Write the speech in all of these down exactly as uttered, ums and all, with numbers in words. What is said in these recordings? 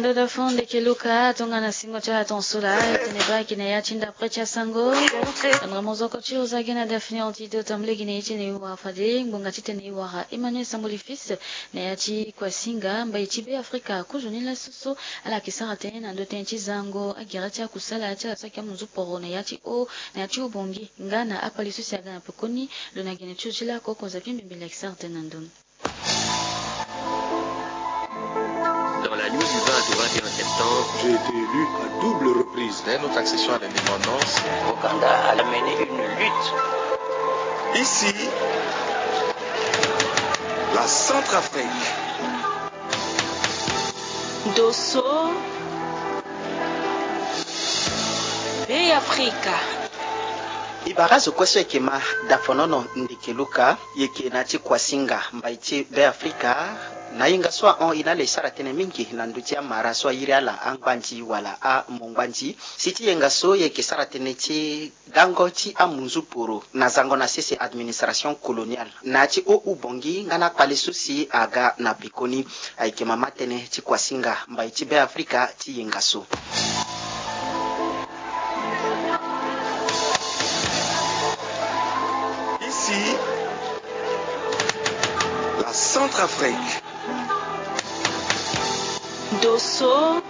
Dada fo ndeke Luka, tongana singo ti ala tonso laa, e tene baa ayeke na ya ti ndapre ti asango. Andra mozoko ti oza ge na Daphné Antidote, tambula gi na ye ti tene e wara fade ngbonga ti tene e wara Emmanuel Samboli Fils na ya ti Kwasinga, mbai ti Be Afrika. Kozoni laso so ala yeke sara tënë na ndö tënë ti zango agere ti akusala ti ala so ayeke amunzu poro na ya ti o, na ya ti ubongi nga na akpali so si aga na pekoni. Lo na gene ti lo ti lako, konza Pimbi Mbele ayeke sara tënë na ndö ni. Dans la nuit du vingt au vingt et un septembre, j'ai été élu à double reprise. Dès notre accession à l'indépendance, Ouganda a mené une lutte. Ici, la Centrafrique. Dosso, Be Afrika. E bara zo kue so e yeke ma Dafonono ndeke Luka, e yeke na ya ti Kwasinga, mbai ti Be Afrika. Na yenga so ahon, e na ala e sara tënë mingi na ndö ti amara so airi ala angbandi wala amongbandi. Si ti yenga so e yeke sara tënë ti dango ti amunzu poro na zango na sese administration coloniale. Na ya ti o ubongi nga na akpali so si aga na pekoni. Ayeke mama tënë ti Kwasinga, mbai ti Be Afrika, ti yenga so. Ici, la Centrafrique. Dosso,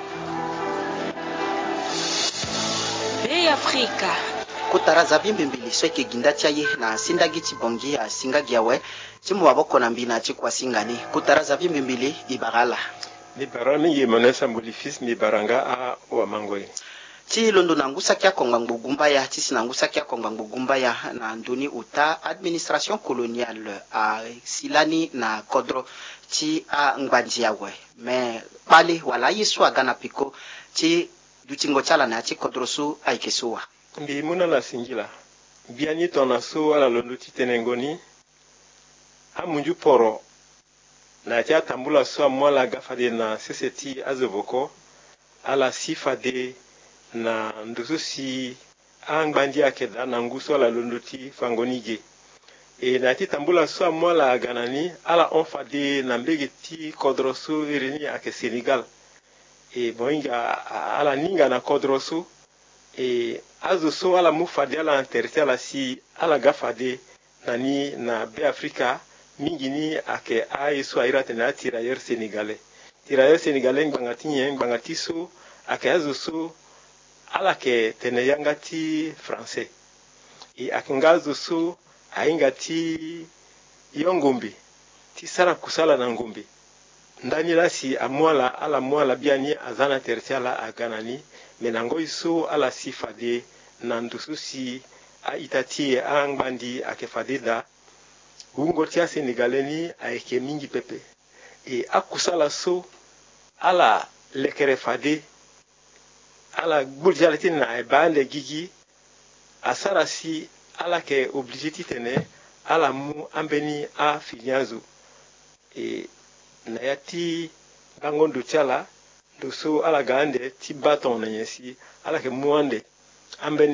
Be Afrika. Kota ra za Bimbi Mbele so ayeke gi nda ti aye na sindagi ti Bongi asinga gi awe. Ti mu maboko na mbi na ya ti Kwasinga ni. Kota ra za Bimbi Mbele, e bara ala. Mbi bara mingi Emmanuel Samboli Fils, mbi bara nga awamango e. Ti londo na ngu saki akongba ngbogumba ya, ti si na ngu saki akongba ngbogumba ya na ndö ni ota administration coloniale asi lani na kodro ti angbandi awe. Me kpale wala aye so aga na peko ti dutingo ti ala na ya ti kodro so ayeke so wa. Mbi mu na ala singila. Biani tongana so ala londo ti tene ngo ni, amunzu poro na ya ti atambula so amu ala ga fade na sese ti azo voko, ala si fade na ndo so si angbandi ayeke daa na ngu so ala londo ti fango ni ge. E na ya ti tambula so amu ala aga na ni, ala hon fade na mbege ti kodro so iri ni ayeke Sénégal. E mo hinga a-, ala ni hinga na kodro so. E azo so ala mu fade ala na tere ti ala si ala ga fade na ni na Be Afrika, mingi ni ayeke aye so airi atene atirailleur sénégalais. Tirailleur sénégalais ngbanga ti nyen? Ngbanga ti so ayeke azo so ala yeke tene yanga ti français. E ayeke nga azo so ahinga ti yo ngombe, ti sara kusala na ngombe. Ndani laa si amu ala, ala mu ala biani aza na tere ti ala aga na ni. Me na ngoi so ala si fade na ndo so si a-ita ti e angbandi ayeke fade daa, wungo ti asénégalais ni ayeke mingi pepe. E akusala so ala lekere fade, ala gbuli ti ala ti tene na e baa ande gigi, asara si ala yeke obligé ti tene ala mu ambeni afini azo. E na ya ti bango ndo ti ala, ndo so ala ga ande ti baa tongana nyen si ala yeke mu ande ambeni